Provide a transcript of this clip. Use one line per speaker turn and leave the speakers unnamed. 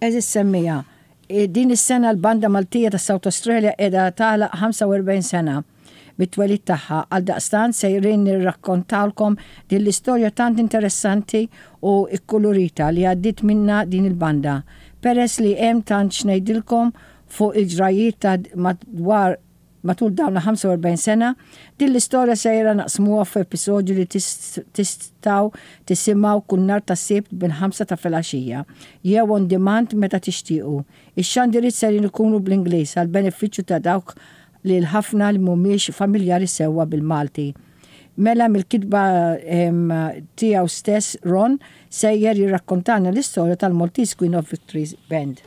Għeżież semmiegħa, din is-sena l-Banda Maltija ta' South Australia qiegħda tagħlaq 45 sena mit-twelid tagħha, għaldaqstant sejrin nirrakkontawlkom din l-istorja tant interessanti u kkulurita li għaddiet minnha din il-banda. Peress li hemm tant x'ngħidilkom fuq il-ġrajjiet ta' madwar Matul dawn il-45 sena, din l-istorja sejra naqsmuha f'episodju li tistgħu tisimgħu kull nhar ta' Sibt bil-ħamsa ta' filgħaxija, jew on demand meta tixtiequ. Ix-xandiriet sejrin ikunu bl-Ingliż għall-benefiċċju ta' dawk li l-ħafna li mhumiex familjari sewwa bil-Malti. Mela mill-kitba tiegħu stess Ron sejjer jirrakkontalna l-istorja tal-Maltese Queen of Victories Band.